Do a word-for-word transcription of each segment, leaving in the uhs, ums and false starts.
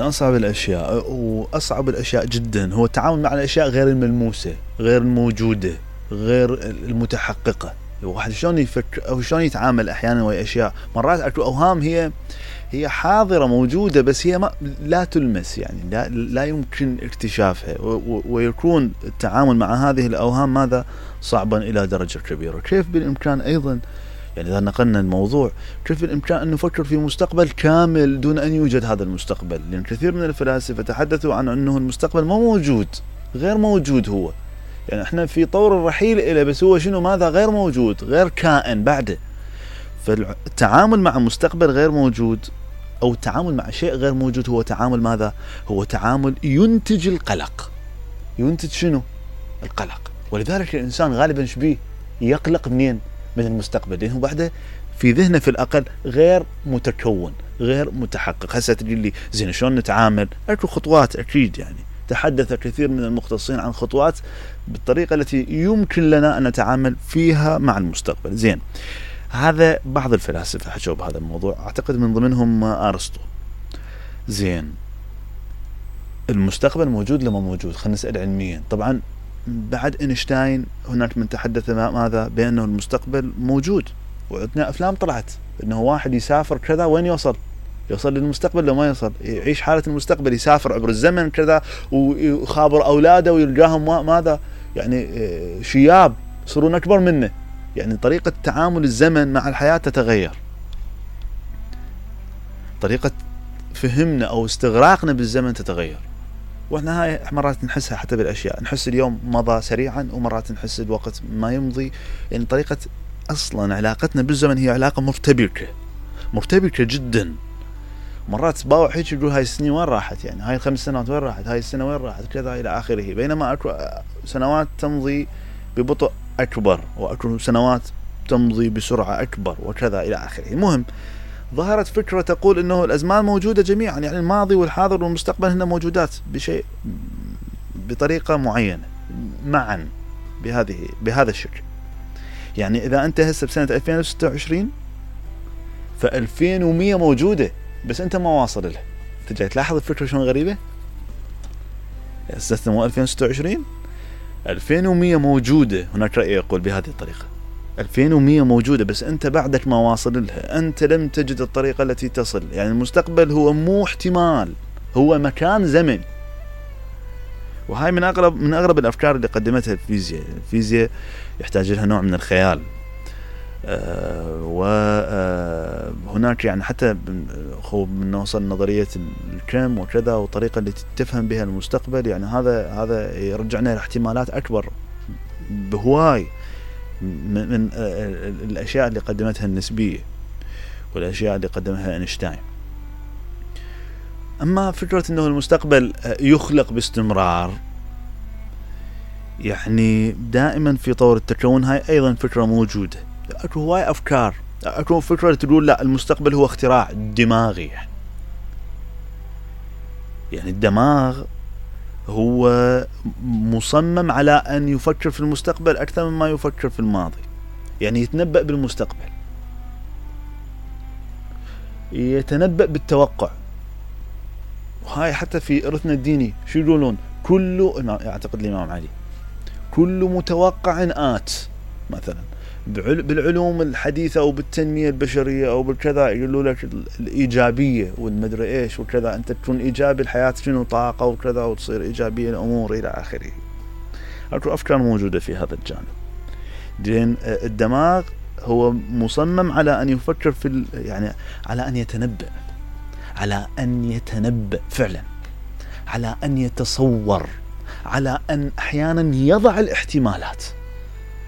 من أصعب الأشياء وأصعب الأشياء جدا هو التعامل مع الأشياء غير الملموسة، غير الموجودة، غير المتحققة. الواحد شلون يفكر أو شلون يتعامل أحيانا ويا أشياء مرات أكو أوهام هي هي حاضرة موجودة بس هي ما لا تلمس، يعني لا, لا يمكن اكتشافها، ويكون التعامل مع هذه الأوهام ماذا صعبا إلى درجة كبيرة. كيف بالإمكان أيضا يعني إذا نقلنا الموضوع كيف بالإمكان أن نفكر في مستقبل كامل دون أن يوجد هذا المستقبل؟ لأن كثير من الفلاسفة تحدثوا عن أنه المستقبل ما موجود، غير موجود هو، يعني احنا في طور الرحيل إليه بس هو شنو ماذا غير موجود، غير كائن بعده. فالتعامل مع مستقبل غير موجود أو التعامل مع شيء غير موجود هو تعامل ماذا؟ هو تعامل ينتج القلق. ينتج شنو؟ القلق. ولذلك الإنسان غالبا شبيه يقلق منين؟ من المستقبل، لأنه بعده في ذهنه في الأقل غير متكون، غير متحقق. هسه تقول لي زين شلون نتعامل؟ أكو خطوات أكيد، يعني تحدث كثير من المختصين عن خطوات بالطريقة التي يمكن لنا أن نتعامل فيها مع المستقبل. زين، هذا بعض الفلاسفة حكوا بهذا الموضوع، أعتقد من ضمنهم أرسطو. زين، المستقبل موجود لما موجود؟ خلينا نسأل علميا. طبعا بعد إينشتاين هناك من تحدث ماذا؟ بأنه المستقبل موجود، وعندنا أفلام طلعت أنه واحد يسافر كذا وين يوصل؟ يوصل للمستقبل لو ما يوصل، يعيش حالة المستقبل، يسافر عبر الزمن كذا ويخابر أولاده ويلقاهم ماذا؟ يعني شياب يصيرون أكبر منه. يعني طريقة تعامل الزمن مع الحياة تتغير، طريقة فهمنا أو استغراقنا بالزمن تتغير. واحنا هاي مرات نحسها حتى بالأشياء، نحس اليوم مضى سريعا ومرات نحس الوقت ما يمضي. يعني طريقة أصلا علاقتنا بالزمن هي علاقة مرتبكة مرتبكة جدا. مرات باوع هيك يقول هاي السنين وين راحت، يعني هاي الخمس سنوات وين راحت، هاي السنة وين راحت كذا إلى آخره، بينما أكو سنوات تمضي ببطء أكبر وأكو سنوات تمضي بسرعة أكبر وكذا إلى آخره. المهم ظهرت فكرة تقول إنه الأزمان موجودة جميعا، يعني الماضي والحاضر والمستقبل هن موجودات بشيء بطريقة معينة معا بهذه بهذا الشكل. يعني إذا أنت هسه بسنة ألفين وستة وعشرين فألفين ومية موجودة بس أنت ما واصل لها. أنت جاي تلاحظ الفكرة شلون غريبة؟ هسه مو ألفين وستة وعشرين، ألفين ومية موجودة. هناك رأي يقول بهذه الطريقة، ألفين ومية موجودة بس أنت بعدك ما واصل لها، أنت لم تجد الطريقة التي تصل. يعني المستقبل هو مو احتمال، هو مكان زمن. وهاي من أغرب من أغرب الأفكار اللي قدمتها الفيزياء. الفيزياء يحتاج لها نوع من الخيال، آه وهناك يعني حتى من نوصل نظرية الكم وكذا والطريقة اللي تفهم بها المستقبل. يعني هذا هذا يرجعنا لاحتمالات أكبر بهواي من, من الأشياء اللي قدمتها النسبية والأشياء اللي قدمها إينشتاين. أما فكرة أنه المستقبل يخلق باستمرار، يعني دائما في طور التكون، هاي أيضا فكرة موجودة. أكو هواي أفكار، أكو فكرة تقول لا المستقبل هو اختراع دماغي، يعني الدماغ هو مصمم على أن يفكر في المستقبل أكثر مما يفكر في الماضي. يعني يتنبأ بالمستقبل، يتنبأ بالتوقع. وهاي حتى في إرثنا الديني شو يقولون؟ كل أعتقد الإمام علي كل متوقع آت مثلا. بالعلوم الحديثة أو بالتنمية البشرية أو بالكذا يقولوا لك الإيجابية والمدري إيش وكذا، أنت تكون إيجابي الحياة شنو طاقة وكذا وتصير إيجابية الأمور إلى آخره. أكو أفكار موجودة في هذا الجانب. لأن الدماغ هو مصمم على أن يفكر في يعني على أن يتنبأ، على أن يتنبأ فعلا، على أن يتصور، على أن أحيانا يضع الاحتمالات،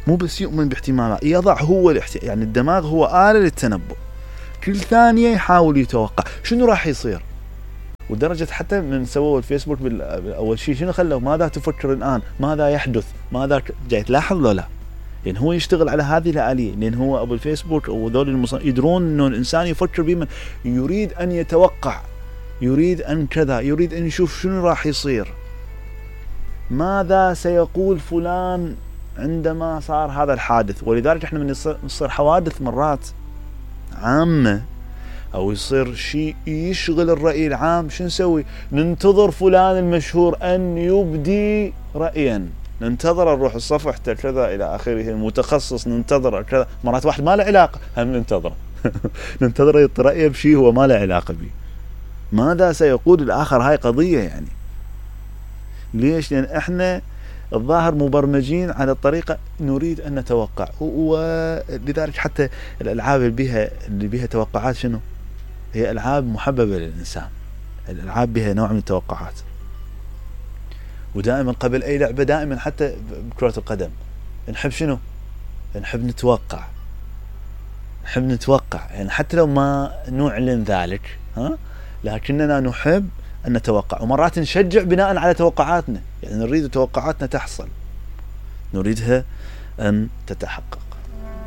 مو بس يؤمن باحتمالات، يضع هو الاحتمال. يعني الدماغ هو آلة للتنبؤ، كل ثانية يحاول يتوقع شنو راح يصير. ودرجة حتى من سووا الفيسبوك بالأول شيء شنو خلوا ماذا تفكر الآن، ماذا يحدث، ماذا جاي تلاحظ له لا، لأن هو يشتغل على هذه الآلية. لأن هو أبو الفيسبوك أو ذول المص... يدرون إنه الإنسان يفكر بما يريد أن يتوقع، يريد أن كذا، يريد أن يشوف شنو راح يصير، ماذا سيقول فلان عندما صار هذا الحادث. ولذلك احنا من نصير حوادث مرات عامة او يصير شيء يشغل الرأي العام، شو نسوي؟ ننتظر فلان المشهور ان يبدي رأيا، ننتظر نروح صفحته كذا الى اخره، المتخصص ننتظر كذا، مرات واحد ما له علاقة هم ننتظره ننتظر يعطي رأيه بشيء هو ما له علاقة به. ماذا سيقول الآخر؟ هاي قضية يعني. ليش؟ لأن احنا الظاهر مبرمجين على الطريقة نريد أن نتوقع، ولذلك حتى الألعاب اللي بها اللي بها توقعات شنو؟ هي ألعاب محببة للإنسان، الألعاب بها نوع من التوقعات. ودائما قبل أي لعبة دائما حتى بكرة القدم نحب شنو؟ نحب نتوقع، نحب نتوقع يعني حتى لو ما نعلن ذلك، ها، لكننا نحب أن نتوقع، ومرات نشجع بناء على توقعاتنا، يعني نريد توقعاتنا تحصل، نريدها أن تتحقق.